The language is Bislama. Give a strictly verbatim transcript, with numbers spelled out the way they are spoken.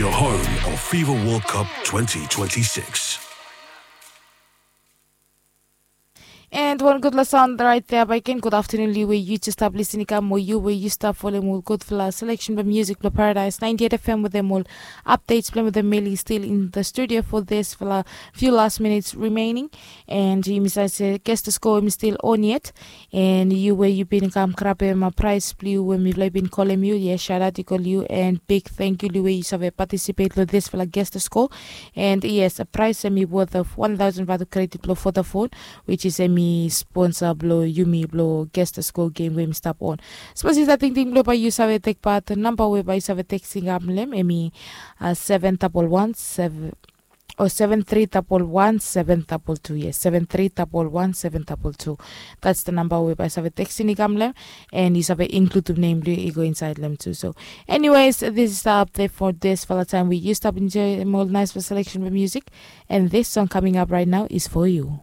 Your home of FIFA World Cup twenty twenty-six. And wan gudfala saon raet ya bae gen. Gud aftanun long yu we yu jes stap lisin i kam, o yu we yu stap folem ol gudfala seleksen blong musik blong Paradise ninety-eight F M wetem ol apdets blong hem wetem Meli stil in the studio for disfala few last minutes remaining. And yumi save se Guess the Score hemi stil on yet. And yu we yu bin kam grabem praes blong yu we mifala i bin kolem yu, yes, shaotaot i go long yu. And big tangkiu long yu we yu save patisipet long disfala Guess the Score. And yes, praes hemi worth of one thousand vatu kredit blong Vodafone, which is hemi sponsa blong yumi blong Guess the Score game we hemi stap on. Sapos yu save tingting blong bae yu save tek pat, namba we bae yu save teksting kam long hem hemi seven double one seven, o seven three double one seven double two. Yes, seven three double one seven double two. That's the number we bae yu save teksting i kam long hem. And yu save inkludim nem blong yu i go insaed long hem tu. So anyways, this is the update for disfala taem we yu stap enjoem ol naesfala seleksen blong musik. And this song coming up right now is for you.